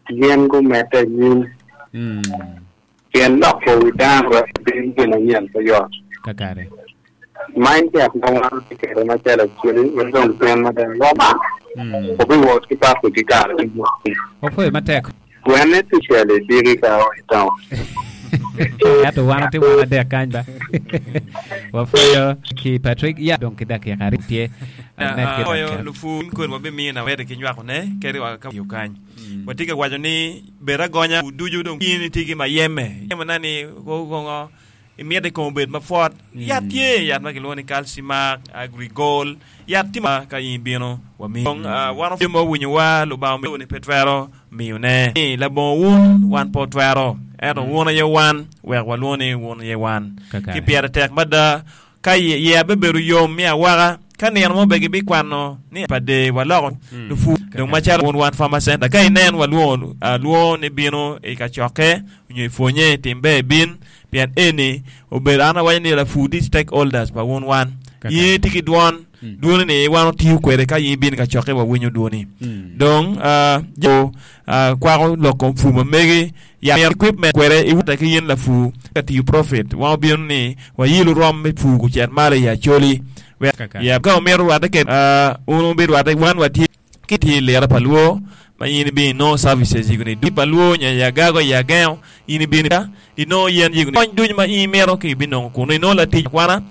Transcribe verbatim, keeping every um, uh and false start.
Gin gumedde anyim. Mm. Pien loko wi dano wek obed gin manyen pe yot. Kakare. Mindset ma wan watye kwede macalo Acholi wek dong pien mada wama Mm. obiwot ki pako ki kare ducu. Opwoyo matek. Gwene especially diki ka o i town. Ento wan watye wan adek kany ba. Wapwoyo ki Patrick. Ya dong ki dakika aryo tye. Med ki Oyo dakika. lupu kodi wabimiyo awete ki nywakone kadi wa ka tiyo kany. Watye ka waco ni bed agonya ducu dong in itye ki mayeme. Yemo na ni kongo imito i kom obed mapwot. Yat tye yat ma kilwongo ni Calcimac, Agrigol. Yat tye ma ka in ibino wamiyo. Dong wan opye ma owinyowa Lubanga omiyo ni pe twero miyone. Ni labongo wun wan pe otwero. Ento wun aye wan wek walwongo ni wun aye wan. Kakare. Ki pire tek mada ka yeya bebedo yom me awaka ka nino mo be gibikwano ni pa de waloko lupu dong macalo wun wan Farmer Center ka inen walwongo alwongo ni bino i kacokke nyo i pwonye tim ber bin pien eni obedo an awaco ni lapur tye stakeholders pa wun wan Kakare. in tye ki dwon dwoni ni wan otiyo kwede ka in ibino i kacokke wawinyo dwoni dong ah, jo ah, kwako lok kom pur ma megi ya equipment kwede iwute ki in lapur ka tiyo profit wan obino ni wayilo rom me pur kucet malo i Acholi wek Kakare. ya ka omito rwatte kede ah, wun wubirwatte wan watye ki tye i lira pa luo ma in ibino inongo services yigoni du pa luo nyo i agago i agengo in ibino inongo yen yigoni kony ducu ma in imito ki ibinongo kunu inongo latic akwana.